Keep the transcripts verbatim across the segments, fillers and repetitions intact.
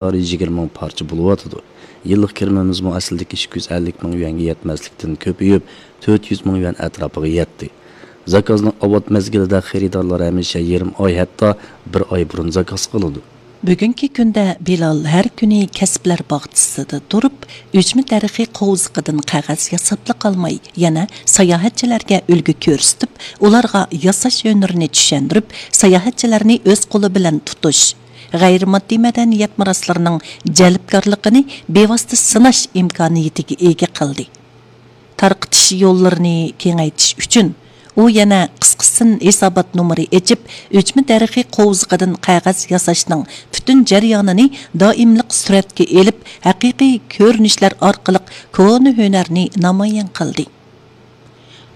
مىقدارى يىگىرمە مىڭ پارچە بولۇۋاتىدۇ. يىللىق كىرىمىمىزمۇ ئەسلىدىكى ئىككى يۈز ئەللىك مىڭ يۈەنگە يەتمەسلىكتىن كۆپىيىپ، تۆت يۈز مىڭ يۈەن ئەتراپىغا يەتتى. زاكازنىڭ ئاۋات مەزگىلىدە خېرىدارلار ھەمىشە يېرىم ئاي، ھەتتا بىر ئاي بۇرۇن زاكاز قىلىدۇ. بۈگۈنكى كۈندە بىلال ھەر كۈنى كەسىپلەر باغچىسىدا تۇرۇپ، ئۈجمە دەرىخى قوۋزىقىدىن قەغەز ياساپلا قالماي، يەنە ساياھەتچىلەرگە ئۈلگە كۆرسىتىپ، ئۇلارغا ياساش ھۈنىرىنى چۈشەندۈرۈپ، ساياھەتچىلەرنى ئۆز قولى بىلەن تۇتۇش، غەيرىي ماددىي مەدەنىيەت مىراسلىرىنىڭ جەلپكارلىقىنى بىۋاسىتە سىناش ئىمكانىيىتىگە ئىگە قىلدى. تارقىتىش يوللىرىنى كېڭەيتىش ئۈچۈن، ئۇ يەنە قىسقىسىن ھېسابات نومۇرى ئېچىپ، ئۈجمە دەرىخى قوۋزىقىدىن قەغەز ياساشنىڭ پۈتۈن جەريانىنى دائىملىق سۈرەتكە ئېلىپ، ھەقىقىي كۆرۈنۈشلەر ئارقىلىق كونا ھۈنەرنى نامايان قىلدى.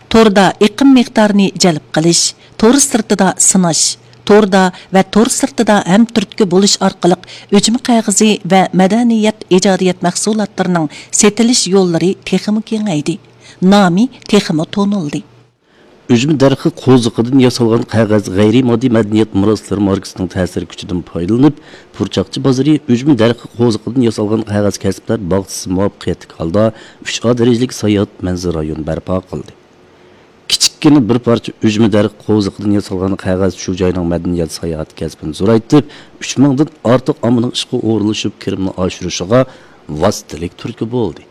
توردا ئېقىم مىقدارىنى جەلپ قىلىش، تور سىرتىدا سىناش، توردا ۋە تور سىرتىدا ھەمتۈرتكە بولۇش ئارقىلىق ئۈجمە قەغىزى ۋە مەدەنىيەت ئىجادىيەت مەھسۇلاتلىرىنىڭ سېتىلىش يوللىرى تېخىمۇ كېڭەيدى، نامى تېخىمۇ تونۇلدى. ئۈجمە دەرىخى قوۋزىقىدىن ياسالغان قەغەز غەيرىي ماددىي مەدەنىيەت مىراسلىرى ماركىسىنىڭ تەسىر كۈچىدىن پايدىلىنىپ، پۇرچاقچى بازىرى ئۈجمە دەرىخى قوۋزىقىدىن ياسالغان قەغەز كەسىپلەر باغچىسى مۇۋەپپەقىيەتلىك ھالدا ئۈچ ئا دەرىجىلىك ساياھەت مەنزىرە رايونى بەرپا قىلدى. كىچىككىنە بىر پارچە ئۈجمە دەرىخى قوۋزىقىدىن ياسالغان قەغەز شۇ جاينىڭ مەدەنىيەت ساياھەت كەسپىنى زورايتىپ، ئۈچ مىڭدىن ئارتۇق ئاممىنىڭ ئىشقا ئورۇنلىشىپ، كىرىمىنى ئاشۇرۇشىغا ۋاسىتىلىك تۈرتكە بولدى.